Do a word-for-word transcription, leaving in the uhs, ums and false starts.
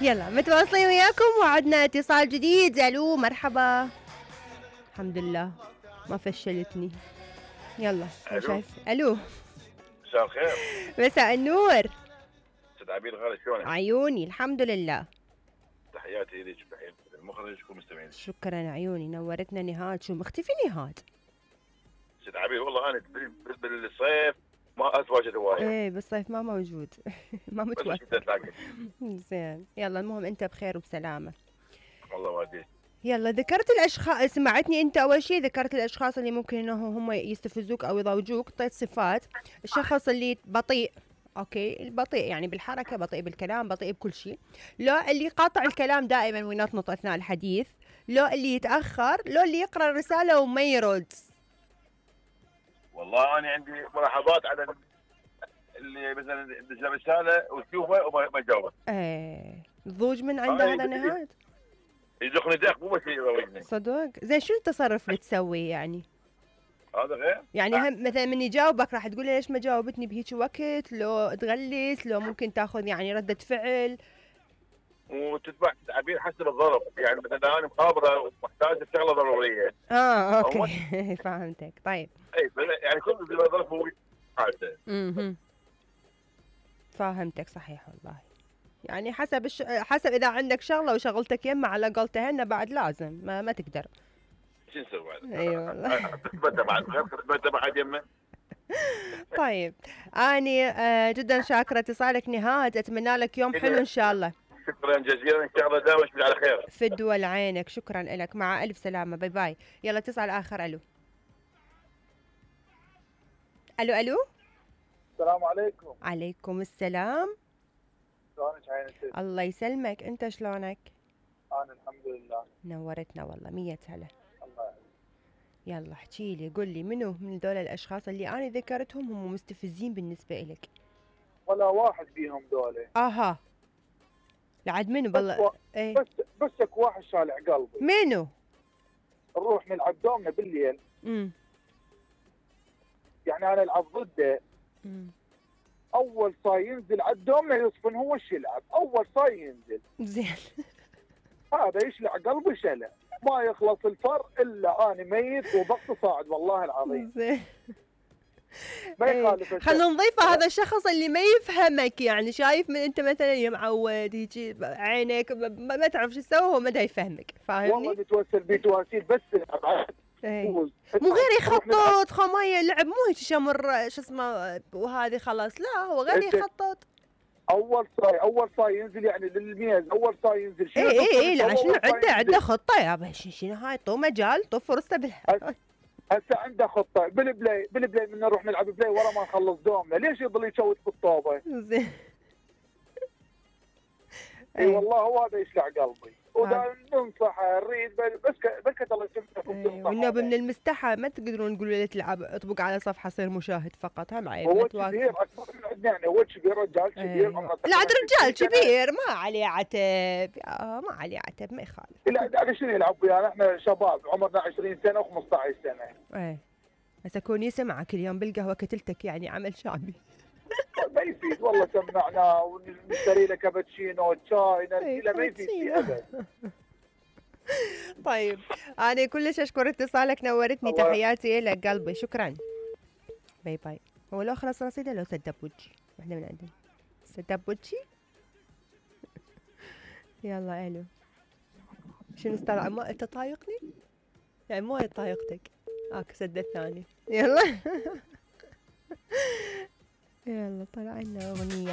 يلا متواصلين وياكم وعدنا اتصال جديد. الو مرحبا. الحمد لله ما فشلتني. يلا الو. شايف الو. مساء الخير. مساء النور. استاذ عبير غالي شلونك؟ عيوني الحمد لله. تحياتي لك بحين المخرج والمستمعين. شكرا عيوني نورتنا نهاد. شو مختفي نهاد؟ استاذ عبير والله انا بالصيف ما اتواجد هوايه. ايه بالصيف ما موجود. ما متوفر. زين يلا المهم انت بخير وبسلامه. الله والديك. يلا ذكرت الاشخاص، سمعتني انت اول شيء ذكرت الاشخاص اللي ممكن انه هم يستفزوك او يضوجوك، طيب صفات الشخص اللي بطيء. اوكي البطيء يعني بالحركه، بطيء بالكلام، بطيء بكل شيء. لو اللي يقاطع الكلام دائما وينطنط اثناء الحديث، لو اللي يتاخر، لو اللي يقرا الرساله وما يرد. والله انا عندي ملاحظات على اللي مثلا يدز رساله وتشوفه وما يجاوب. ايه ضوج من عنده هذا نهاد. يدخني دق مو بس يروجني. صدق؟ زين شو التصرف اللي تسويه يعني؟ هذا غير؟ يعني هم مثلا من يجاوبك راح تقول ليش ما جاوبتني بهيك وقت، لو تغلس، لو ممكن تاخذ يعني ردة فعل. وتتبع تعبير حسب الظرف، يعني مثلا انا مخابره ومحتاج شغله ضروريه. اه اوكي. فهمتك. طيب اي يعني كل ظرف هو حالته. اها فهمتك صحيح والله. يعني حسب الش... حسب اذا عندك شغله وشغلتك يمه على قولتهن بعد لازم ما, ما تقدر. شو نسوي بعد؟ اي والله. تثبت بعد غير تثبت بعد يمه. طيب اني آه جدا شاكره اتصالك نهاد، اتمنى لك يوم حلو ان شاء الله. شكرا جزيلا ان شاء الله داوم على خير. في الدول عينك. شكرا لك مع الف سلامه. باي باي. يلا اتصال اخر. الو الو الو. السلام عليكم. عليكم السلام. شلونك عينتك؟ الله يسلمك. انت شلونك؟ انا الحمد لله. نورتنا والله. مية هلا. الله يعينك. يلا احكي لي، قل لي منو من ذول الاشخاص اللي انا ذكرتهم هم مستفزين بالنسبه لك؟ ولا واحد فيهم ذولا. اها لعد منو بالله؟ و... ايه بس بسك واحد شالع قلبي. منو؟ نروح نلعب دومنا بالليل. امم يعني انا العب ضده. امم اول صاي ينزل على الدومنا يصفن هو ايش يلعب، اول صاي ينزل. زين. هذا يشلع قلبي شلع، ما يخلص الفر الا انا ميت وضغط صاعد والله العظيم. زين. ما يخالف. خلينا نضيفه هذا الشخص اللي ما يفهمك، يعني شايف من انت مثلا يا معود هيجي عينك ما, ما تعرف شو تسوي، هو ما دا يفهمك. فاهمني؟ والله بتوسل بتواسيل بس ايه. مو غير يخطط خمايه لعب، مو هيك شمر شو اسمه وهذه خلاص، لا هو غير يخطط. اول صاي اول صاي ينزل يعني للميز، اول صاي ينزل. اي اي اي لا شنو عنده عنده خطه يابا. شنو هاي؟ طو مجال طو فرصه بالحياه. هسه عنده خطه بالبلاي بالبلاي من نروح نلعب بلاي ورا ما نخلص دومنا، ليش يضل يشوت بالطوبه؟ زين. اي والله هو هذا يشلع قلبي. ودائما ننصحه نريد بس بس الله يسلمك. والنبي من المستحى ما تقدرون تقولوا له تلعب اطبق على صفحه صير مشاهد فقط، هم عيب. هو كبير اكبر من عندنا، يعني هو كبير رجال كبير. لا عاد رجال كبير ما عليه عتب. ما عليه عتب ما يخالف. لا على شنو يلعب ويانا؟ احنا شباب عمرنا عشرين سنه وخمسطعش سنه. ايه هسه كون يسمع كل يوم بالقهوه كتلتك يعني عمل شعبي. ما يفيد والله. سمعنا ونشتري له كابتشينو شاي نرجيله ما يفيد فيه ابد. طيب انا كلش اشكر اتصالك، نورتني. تحياتي لك قلبي. شكرا. باي باي. هو لو خلص رصيده لو سدب وجهي واحده من عندنا سدب وجهي. يلا الو. شنو استرى ما انت طايقني؟ يعني مو هي طايقتك. اك سد الثاني. يلا. يلا طلع لنا اغنيه.